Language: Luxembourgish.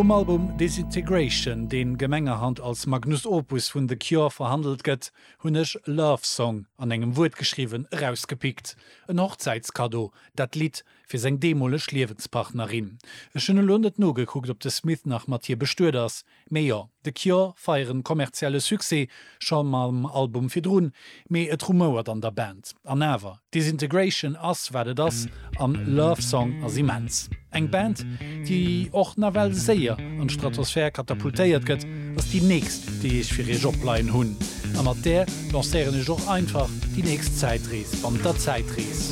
Vum Album Disintegration, deen gemengerhand als Magnus Opus vun The Cure verhandelt gëtt, hunn ech Love Song, an engem Wuert geschriwwen, erausgepickt. En Hochzäitskaddo, dat Lidd fir seng deemoleg Liewenspartnerin. Ech hunn elo net nogekuckt, ob de Smith nach mat hir bestuet ass, Mee jo, The Cure feieren kommerzielle Succès, scho mam Album virdrun, mee et rumouert an der Band. An awer, Disintegration ass wat et ass an Love Song ass immens. Eng Band, déi och nawell séier an d'Stratosphär katapultéiert gëtt, ass déi nächst, déi ech fir iech opleien hunn. A mat där lancéieren ech och einfach déi nächst Zäitrees bannent der Zäitrees.